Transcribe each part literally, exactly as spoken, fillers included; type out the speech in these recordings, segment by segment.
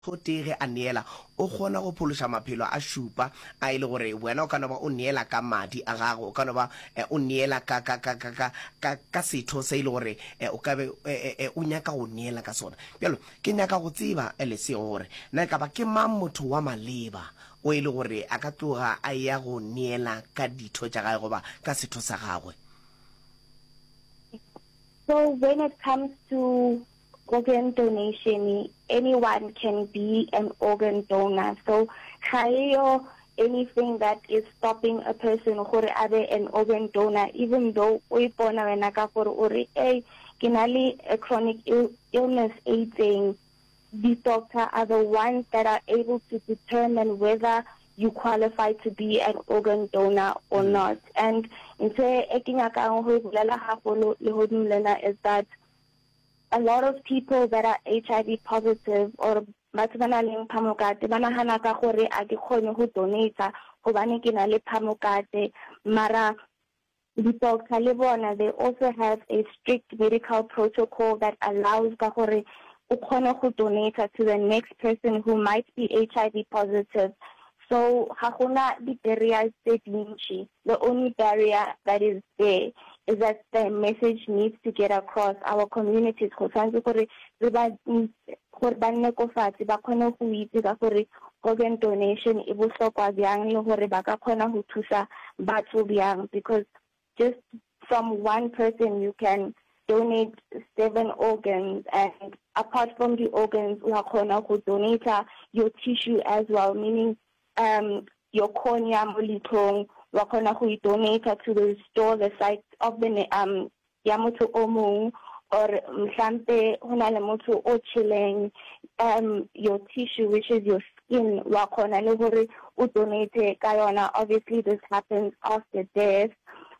O tee ge a neela, o kgona go phološa maphelo a šupa a e le gore wena o ka no ba o neela ka madi a gago, o ka no ba o neela ka, ka, ka, ka, ka, ka, ka setho se e le gore o ka be o nyaka go neela ka sona. Bjalo, ke nyaka go tseba, Lesego, gore na e ka ba ke mang motho wa maleba o e le gore a ka tloga a eya go neela ka ditho tša gagwe goba ka setho sa gagwe. So when it comes to organ donation, anyone can be an organ donor. So ga eyo anything that is stopping a person gore a be an organ donor, even though o ipona wena ka gore o re, "Hey, ke na le a chronic Ill illness e itseng." The doctor are the ones that are able to determine whether you qualify to be an organ donor or mm. not. And ntho e ke nyakang go e bolela haholo lehodimo lena is that a lot of people that are H I V positive or batho ba nang le phamokate ba nagana ka gore a ke kgone go donate gobane ke na le phamokate, mara di-doctor le bona, they also have a strict medical protocol that allows ka gore o kgone go donate to the next person who might be H I V positive. So ga gona di-barriers tse dintši. The only barrier that is there is that the message needs to get across our communities. Go tshwanetse gore re ba gore ba nne ko fatshe, ba kgone go itse ka gore organ donation e bohlokwa bjang le gore ba ka kgona go thusa batho bjang, because just from one person you can donate seven organs, and apart from the organs, wa kgona go donate your tissue as well, meaning um your cornea mo leitlhong wa kgona go e donate to restore the sight of the um ya motho o mong, or mhlampe ho na le motho o tjheleng, um your tissue, which is your skin, wa kgona le hore o donate ka yona. Obviously this happens after death,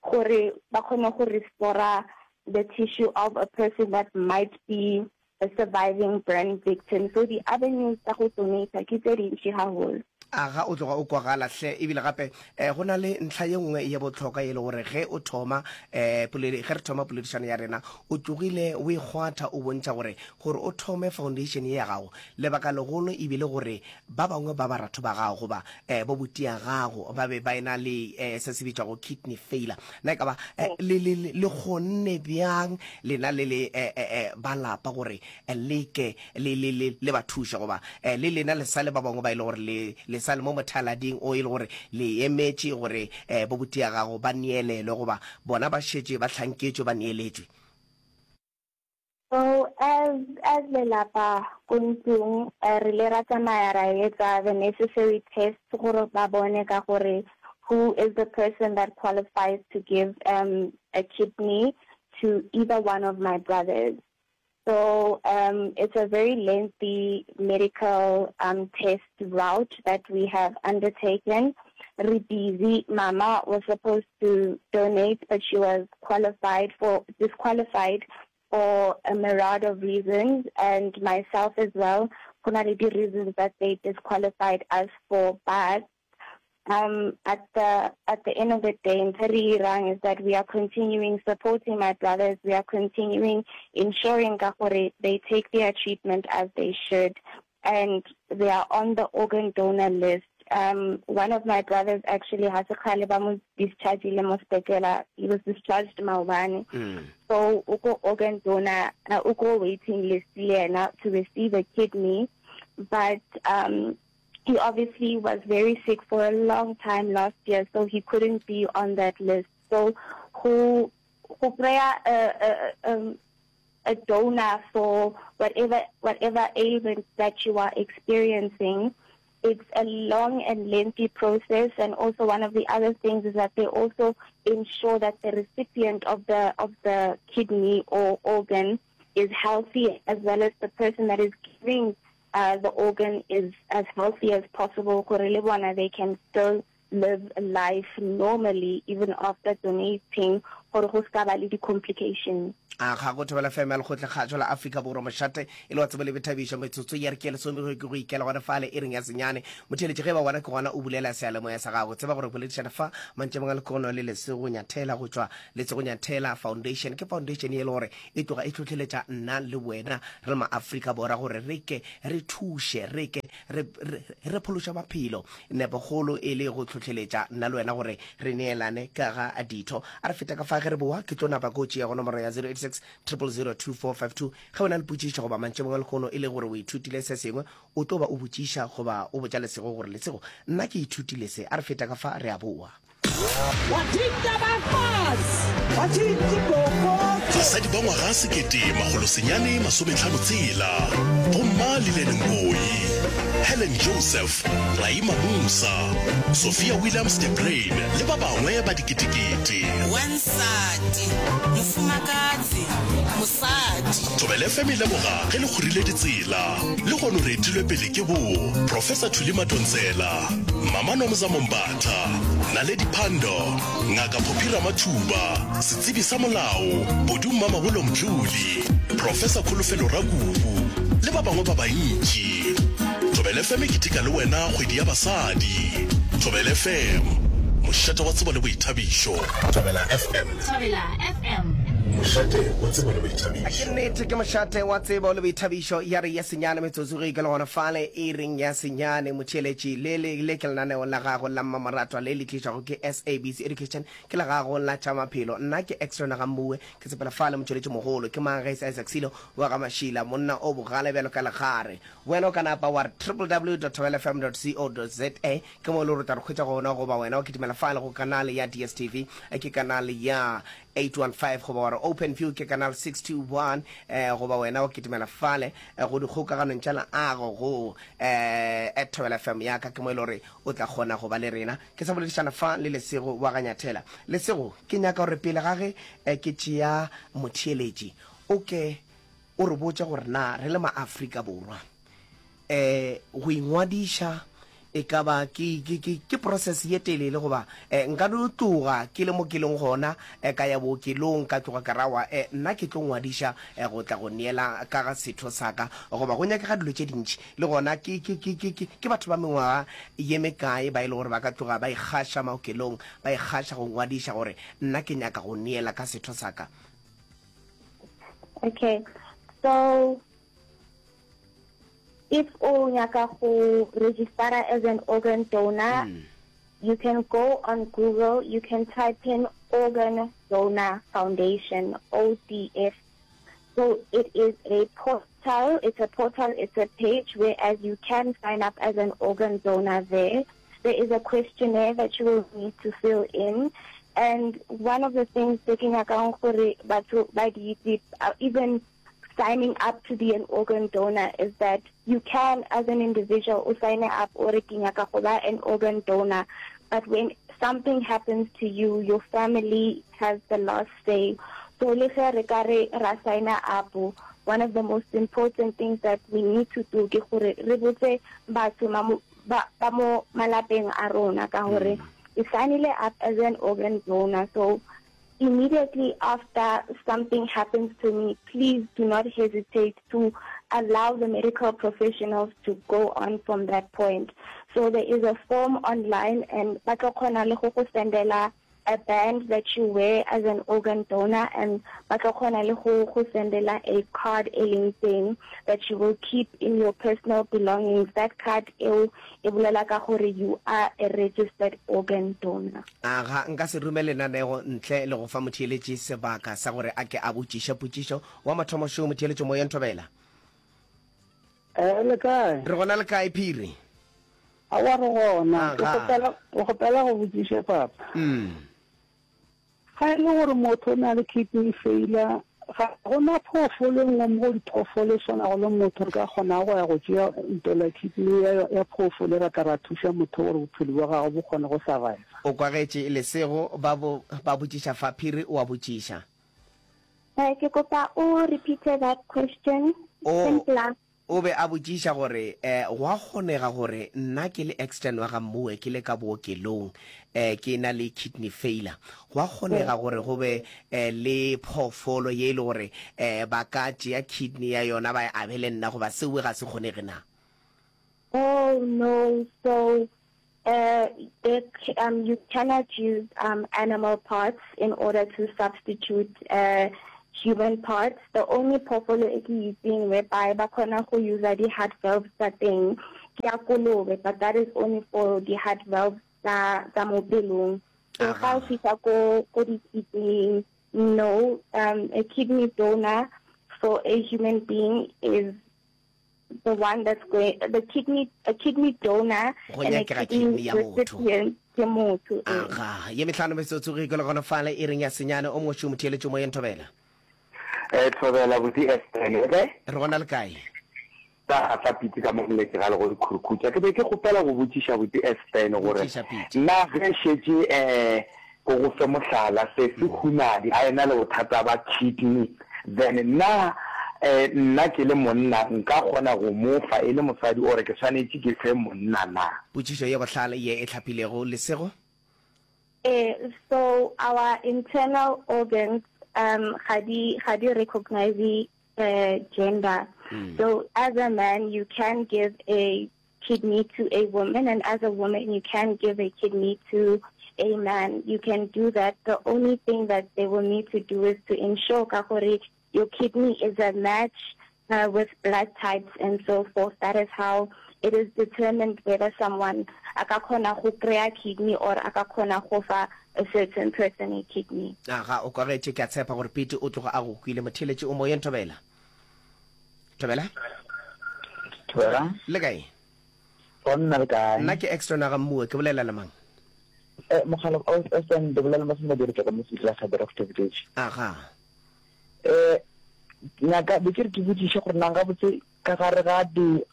gore ba kgone go restore the tissue of a person that might be a surviving burn victim. So the avenues tsa go donate ke tse dintši haholo. Aga, o tloga o kwagala hle. Ebile gape um go na le ntlha ye nngwe ye bohlokwa e le gore ge o thoma um ge re thoma poledišano ya rena, o tlogile o e kgwatha, o bontšha gore gore o thome foundation ye ya gago, lebaka legolo ebile gore ba bangwe ba baratho ba gago goba um bo botia gago ba be ba ena le um se se bitšwago kidney failure. Na e ka ba um le le le kgonne bjang lena le le um ba lapa gore leke le le le le ba thuše, goba le lena le sa le ba bangwe ba ile gore le le sa le mo mothalading o e le gore le emetše gore um bo botia gago ba neelelwe, goba bona ba šetše ba hlanketšwe, ba neeletšwe? So as as lelapa ko ntlong, re le ra tsamaya ra etsa the necessary tests gore ba bone ka gore who is the person that qualifies to give um a kidney to either one of my brothers. So um, it's a very lengthy medical um, test route that we have undertaken. Re busy. Mama was supposed to donate, but she was qualified for disqualified for a myriad of reasons, and myself as well. Go na le di-reasons that they disqualified us for, but um, at the at the end of the day, ntho re irang is that we are continuing supporting my brothers. We are continuing ensuring ka gore they take their treatment as they should, and they are on the organ donor list. Um, one of my brothers actually has a kgale ba mo discharge mo sepetlele. He was discharged maobane. Mm. So o ko organ donor, uh, o ko waiting list le yena to receive a kidney, but um, he obviously was very sick for a long time last year, so he couldn't be on that list. So who who kry-a a, a, um, a donor for whatever whatever ailment that you are experiencing, it's a long and lengthy process. And also one of the other things is that they also ensure that the recipient of the of the kidney or organ is healthy, as well as the person that is giving uh, the organ is as healthy as possible, gore le bona they can still live a life normally even after donating, gore go ska ba le di-complications. A ga go Thobela F M ya Lekgotlakgašo la Afrika Borwa, mošate e le wa tsebo le boithabišo, metsotso ya re ke lesome go ke go ikela gona fale iring ya senyane. Motheeletši, ge e ba wena ke gona o bulela seyalemoya sa gago, tseba gore boledišana fa mantšebong a lekono le Lesego Nyathela go tšwa Lesego Nyathela Foundation. Ke foundation ye e le gore e tloga e hlohleletša nna le wena re le ma-Afrika Borwa gore re ke re thuše, re ke re, re, re phološe maphelo. Nepokgolo e le go hlohleletša nna le wena gore re neelane ka ga ditho. A re feta ka fa ge re boa, ke tlo napa ko tšea go nomoro ya zero eight six triple zero two four five two. Ge o na le potšišo goba mantšebong a lehono e le gore o ithutile se sengwe, o tlo ba o botšiša goba o botša Lesego gore, Lesego, nna ke ithutile se. A re feta ka fa re a boa. Basadi ba ngwaga sekete makgolo senyane masometlhano tshela, Bomma Lillian Ngoyi, Helen Joseph, Rahima Moosa, Sophia Williams de Bruyn le ba bangwe ba diketekete. Wansati, mofumakadzi, mosadi. Thobela F M e leboga ge le kgorile ditsela. Lehono re etilwe pele ke bo Professor Thuli Madonsela, Mama Nomzamo Mbatha, Naledi Pandor, Ngaka Phophi Ramathuba, setsebi sa molao, Bodu Mmamabolo Mdluli, Professor Kholofelo Rakubu, le ba bangwe ba bantši. Thobela F M e keteka le wena kgwedi ya basadi. Thobela F M, mošate wa tsebo le boithabišo. Thobela F M. Thobela F M. Mošate wa tsebo le boithabišo. Ke nnete, ke mošate wa tsebo le boithabišo. Ya re ya senyane metsotso ge e ke le gona fale e reng ya senyane motheeletši. Le, le, le ke lenaneo la gago la mmamoratwa le le tlišwago ke S A B C Education, ke la gago la tša maphelo. Nna ke Extra Nagammuwe, ke sepela fale motšweletši mogolo ke mang ge e se Isaac Silo wa ga Mašila, monna o bogale bjalo ka legare. Wena o ka napa wa re www dot thobela f m dot co dot za, ke mo e le gore o tla re hwetša gona, goba wena wa kitimela fale go kanale ya D S T V, ke kanale ya eight one five, goba wa re Open View ke kanal six two one, eh, goba wena wa kitimela fale, eh, go dikgokaganong tša leago go, eh, at Thobela F M ya ka, ke mo e le gore o tla kgona go ba le rena. Ke sa boledišana fa le Lesego wa ga Nyathela. Lesego, ke nyaka gore pele ga ge, eh, ke tšea motheeletši, o ke o re botše gore na re le ma-Afrika Borwa, eh, go ingwadiša e ka ba ke, ke, ke, ke process ye telele, goba, eh, nka no tloga ke le mo ke leng gona, eh, ka ya bookelong, ka tloga ka rawa, eh, nna ke tlo ngwadiša, eh, go tla go neela ka ga setho sa ka, goba go nyakega dilo tše dintši. Le gona ke, ke, ke, ke, ke, ke batho ba mengwaga ye mekae ba e le gore ba ka tloga ba ikgaša maokelong, ba ikgaša go ngwadiša gore nna ke nyaka go neela ka setho sa ka? Okay, so if o nyaka go register as an organ donor, mm. you can go on Google, you can type in Organ Donor Foundation, O D F. So it is a portal, it's a portal, it's a page whereas you can sign up as an organ donor there. There is a questionnaire that you will need to fill in. And one of the things tse ke nyakang gore batho ba di itse, uh, even signing up to be an organ donor, is that you can, as an individual, o sign up or ke nyaka go ba an organ donor. But when something happens to you, your family has the last say. So le ge re ka re ra sign up, one of the most important things that we need to do ke gore re botse batho ma mo, ba, ba mo malapeng a rona ka gore Mm. we signed up as an organ donor. So immediately after something happens to me, please do not hesitate to allow the medical professionals to go on from that point. So there is a form online, and ba tlo kgona le go go sendela a band that you wear as an organ donor, and ba tlo kgona le go go sendela a card e leng teng that you will keep in your personal belongings. That card eo e bolela ka gore you are a registered organ donor. Aga, nka se rume lenanego ntle le go fa motheeletši sebaka sa gore a ke a botšiše potšišo. Wa mathomo šo, motheeletši moyeng, Thobela. Eh, le kae? Re gona le kae, Phiri? Aowa, re gona. Ke Aga. kgopela, ke kgopela go botšiša papa. Mm. Ga e le gore motho o na le kidney failure, ga gona phoofolo e nngwe mo go diphoofolo e swanago le motho re ka kgonago go ya go tšea ntola kidney ya, ya phoofolo ra tla ra thuša motho gore bophelo bja gagwe bo kgone go survive. O kwagetše Lesego ba bo, ba botšiša fa, Phiri o a botšiša. Eh, ke kopa o repeat that question. O, Simpler. O be a botšiša gore um go a kgonega gore nna ke le extern wa ga Mmuwe ke le ka bookelong um ke na le kidney failure, go a kgonega gore go be um le phoofolo ye e le gore um ba ka tšea kidney ya yona ba e abele nna goba seo ga se kgonege na? Oh no, so uh, the, um, you cannot use um, animal parts in order to substitute uh, human parts. The only phoofolo e ke itseng whereby ba kgona go use di-heart valves tsa teng ke ya kolobe, but that is only for di-heart valves tsa tsa mo pelong. So ga o fihla ko ko di-kidney, no, um, a kidney donor for a human being is the one that's going the kidney a kidney donor Go and a nyakega kidney kidney ya motho. recipient ke motho ee. Aga, ye mehlano metsotso ge ikole gona fale e reng ya senyane o mongwe šo motheeletši moyeng Thobela. Eh, Thobela buti Esther, le kae? Re gona le kae? Ka gatla Pete ka mo moletše ga le go dikhurukhutša. Ke be ke kgopela go botšiša buti Esther gore Botšiša Pete. na ge šetše eh ko go fe mohlala sesi Hunadi a ena le bothata ba kidney then na eh nna ke le monna nka kgona go mo fa e le mosadi or ke swanetše ke fe monna na? Potšišo ye bohlale ye e hlapilego, Lesego. Eh, so our internal organs um ga di ga di recognize uh, gender. Mm. So as a man you can give a kidney to a woman, and as a woman you can give a kidney to a man. You can do that. The only thing that they will need to do is to ensure ka gore your kidney is a match uh, with blood types and so forth. That is how it is determined whether someone a ka kgona go kry-a kidney or a ka kgona go fa a certain person a kidney. Aga, o kwagetše, ke a tshepa gore Pete o tloga a go kwile. Motheeletši o moyeng Thobela. Thobela? Thobela. Le kae? Gona le kae? Nna ke Exton ga Mmue, ke bolela le mang? Eh, mogala o Exton, ke bolela le Masome Diri ka mo sepetlele sa Doctor Village. Aga. Eh, ngaka be ke re ke botšiše gore nang gabotse ka gare ga di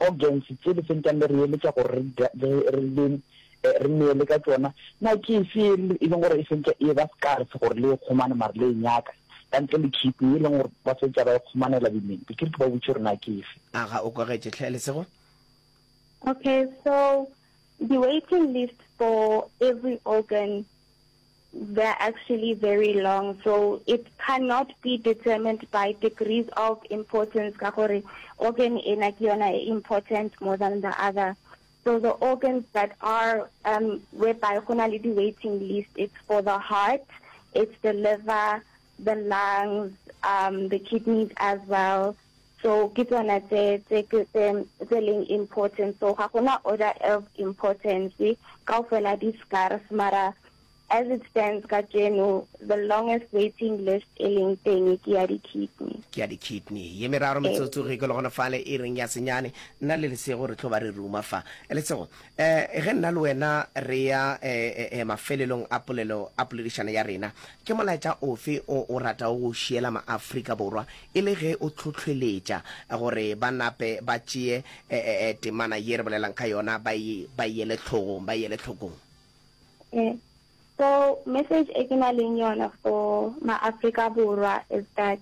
organs tše le sentšang le re eletša gore re re le re neele ka tšona, na ke efe e leng gore e sentše e ba scarce gore le e kgomane mare le e nyaka ka ntle le kidney e leng gore ba sentše ba e kgomanela boimeng? Be ke re ke ba botše gore na ke efe. Aga, o kwagetše hle, Lesego? Okay, so the waiting list for every organ, they're actually very long. So it cannot be determined by degrees of importance ka gore organ ena ke yona e important more than the other. So the organs that are um whereby go na le di waiting list, it's for the heart, it's the liver, the lungs, um the kidneys as well. So ke tsona tse tse tse tse leng important. So ga gona order of importance, kaofela di scarce, mara as it stands kajeno, the longest waiting list e leng teng ke ya di-kidney. Ke ya di-kidney. Ye meraro metsotso ge ke le gona fale e reng ya senyane, nna le Lesego re tlo ba re ruma fa. Lesego, eh ge nna le wena re ya eh, eh, mafelelong a polelo a poledišano ya rena, ke molaetša ofe o o ratago go šiela maAfrika Borwa e le ge o hlohleletša gore ba nape ba tšee eh, eh, eh, temana ye re bolelang ka yona ba e ba e ele hlogong, ba e ele hlokong? Eh, so message e ke nang le yona for maAfrika Borwa is that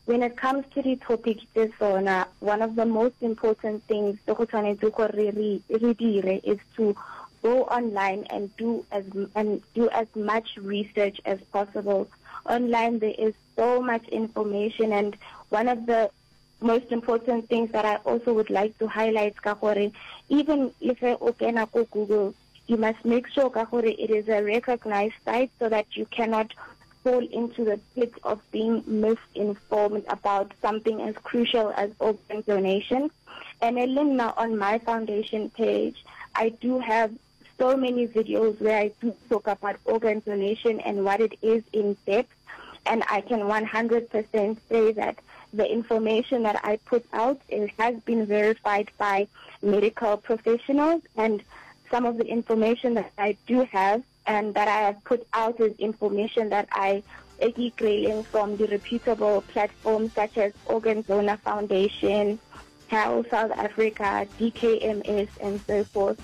when it comes to the topic tse sona, one of the most important things tse go tshwanetse gore re re dire is to go online and do as and do as much research as possible. Online there is so much information, and one of the most important things that I also would like to highlight ka gore even if o kena ko Google, you must make sure ka gore it is a recognized site so that you cannot fall into the pit of being misinformed about something as crucial as organ donation. And Elinna, on my foundation page, I do have so many videos where I do talk about organ donation and what it is in depth. And I can one hundred percent say that the information that I put out, it has been verified by medical professionals, and some of the information that I do have and that I have put out is information that I grilling from the reputable platforms such as Organ Donor Foundation, Health South Africa, D K M S, and so forth.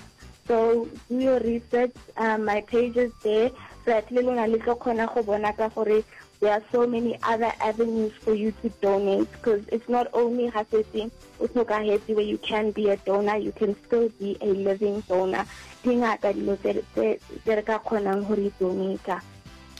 So do your research. Um, my page is there. So that le lona le tlo kgona go bona ka gore There are so many other avenues for you to donate because it's not only ga setse o hlokahetse where you can be a donor, you can still be a living donor. Di ngata dilo tse tse re ka kgonang go di donata.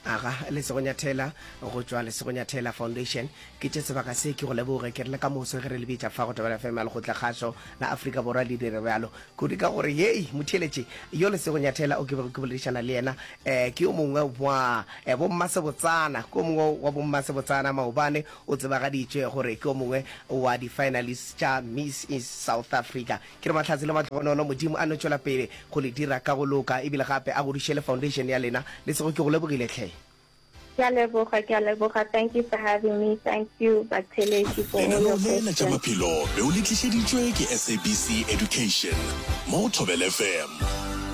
Aga, Lesegonyathela go tšwa Lesegonyathela Foundation. Ke tše sebaka se ke go leboge, ke re le ka moso ge re le bitša fa go Thobela F M ya Lekgotlakgašo la Afrika Borwa le dire bjalo kudu ka gore hei motheeletši yo Lesegonyathela o ke bego ke boledišana le yena eh, ke yo mongwe wa eh, bommasebotsana, ke yo mongwe wa bommasebotsana maobane o tsebagaditšwe gore ke yo mongwe wa di-finalists tša Miss South Africa. Ke re mahlatse le mahlogonolo, Modimo a no tšwela pele go le dira ka go loka ebile gape a godiše le foundation ya lena. Lesego ke go lebogile hle. Ke a leboga, ke a leboga. Thank you for having me. Thank you batheeletši for all Lenaneo your le la tša questions. maphelo be o le tlišeditšwe ke S A B C Education mo go Thobela F M.